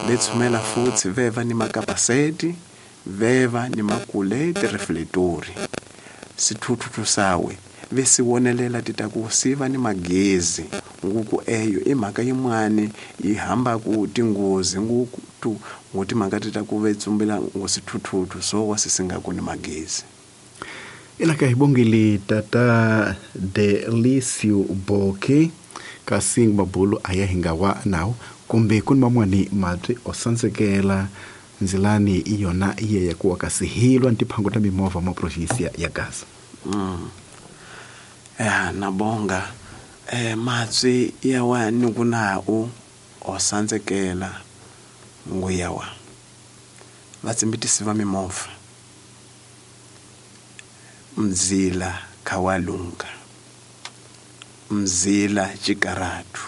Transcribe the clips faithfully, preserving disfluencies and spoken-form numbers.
Vetsumela futsi veva ni makapaseti, veva ni makuleti refletori. Sithuthuthu sawe vesiwonelela titaku siva ni magezi nguku eyo i mhaka yin'wani yi hambaku tinghozi nguku tu ngo timhaka ti ta ku vetsumbela ngo sithuthuthu so wa sisingaku ni magezi. Ina ka hibongile tata Delicio Boke kasi mabulu aya hingawa nawo kumbe kuni mamwani matwi osansekela nzilani iyona iye yakuwa kasi hilwa ntiphango ta mimovha mwa provinsia ya Gaza. Mm. Eh nabonga eh matwi yawa nikunao osansekela nguyawa vatsimbitisi va mimovha mzila khawalunga mzila chikaratu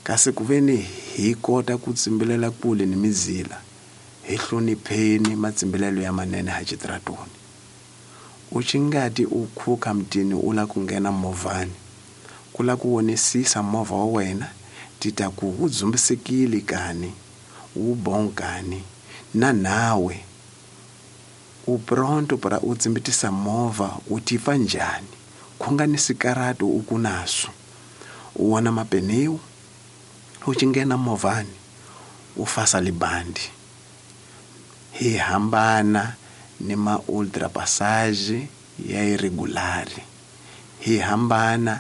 kasi kuveni hi kota ku tsimbelela kule ni mizila hi hlonipheni matsimbelelo ya manene ha chitratoni u chingati u khuka mtini u la ku nghena movhani ku la ku wonisisa movha wa wena tita ku wu dzumbisekile kani wu bonkani na nawe u pronto para u tsimbitisa movha u tifa njhani khunga ni sikaratu u ku naso u wona mapeneu u chingena movhani u fasa libandi hi hambana ni ma ultra passage ya irregulari hi hambana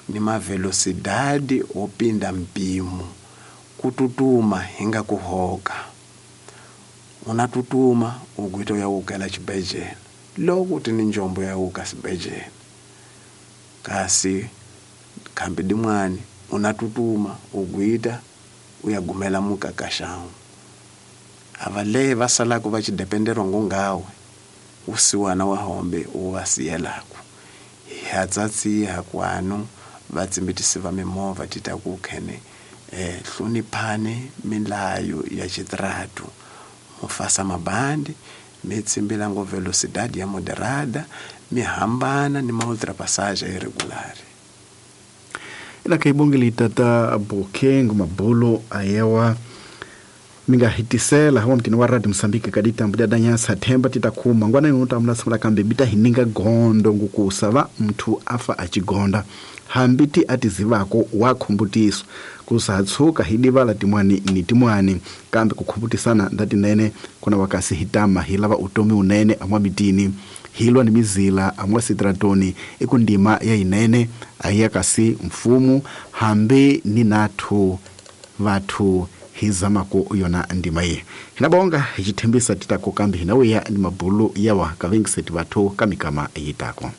ni ma velocidade o pinda mpimo kututuma hinga kuhoka una tutuma ugwito ya ukela chibejela loko tini njombo ya uka sibejela kasi khambi dimwani una tutuma ugwita uyagumela mukakashawu avale vasalako va chidependerwa ngongawe usiwana wa hombe uvasiyelako hatsatsiha kwanu vatsimbitisi va mimovha titakukhene eh hloniphani milayo ya chitratu mufasa mabandi mitsimbila ngo velocidade ya moderada mihambana ni ma ultrapassage irregulari. Ina kaibongeli tata Bokeng mabolo ayewa minga hitisela hawa mtini wa Radio Msambiki kadita mbuda danyasa themba titakuma ngwana yonota mula kambe bita hininga gondo ngukusava mthu afa achigonda hambiti atizivako wakhumbutiswa kusatsuka hidivala timwani ni timwani kambe kukhumbutisana ndati nene kuna wakasi hitama hilava utomi unene amwa mitini hilwa ni mizila amwa sitratoni ikundima ya inene ahiya kasi mfumu hambi ni nathu vathu hizamako yona ndima ye hinabonga hichithembisa titako kambi hinawiya ni mabulu yawa kavengiseti vathu kamikama yitako.